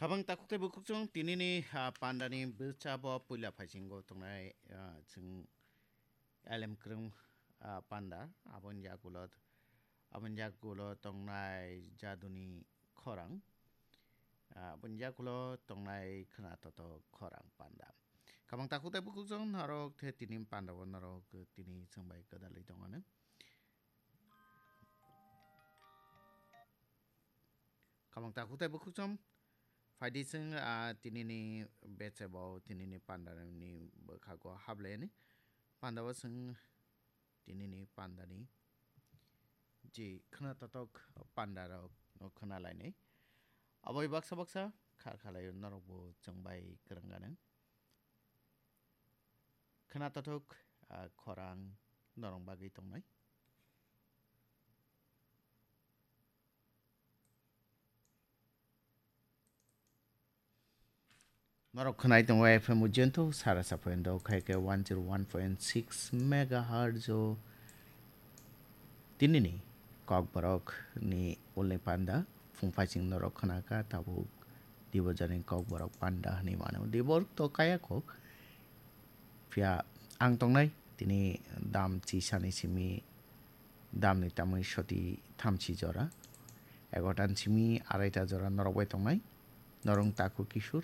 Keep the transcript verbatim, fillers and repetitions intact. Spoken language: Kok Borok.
Khabang takhuk tei bukhuk chwng tinini, ah, pandani bwsa bo puila phaisingo tongnai, ah, chwng L M Kwrwng, ah, panda, aboni yagulo, aboni yagulo tongnai jaduni khorang, ah, aboni yagulo tongnai khwnatotok khorang panda. Khabang takhuk tei bukhuk chwng norok the tini panda o norok tini chwng bai kwdalwi tongmani. Khabang takhuk tei bukhuk chwng phaidi chwng, ah, tinini bechebo tinini pandani bwkhago hablaiani. Panda o chwng tinini pandani je khwnatotok pandarok no khwnalainai. Aboni baksa baksa kha khalai norokbo chwng bai kwrwng gwnang. Khwnatotok, ah, khorang norok bagwi tongnai. Norok khwnai tongo F M Ujento, sara sa point do khai khe one zero one point six megahertz o. Tinini Kokborok ni ulni panda, phung phaising norok khwnakha tabuk Dibojani Kokborok panda hwnwi mano. Diborok to kaya kok, phiya ang tongnai tini dam chisani simi damni tamwi soti thamchi jora. Egotan simi araita jora norok bai tongnai. Norong takhuk kisur.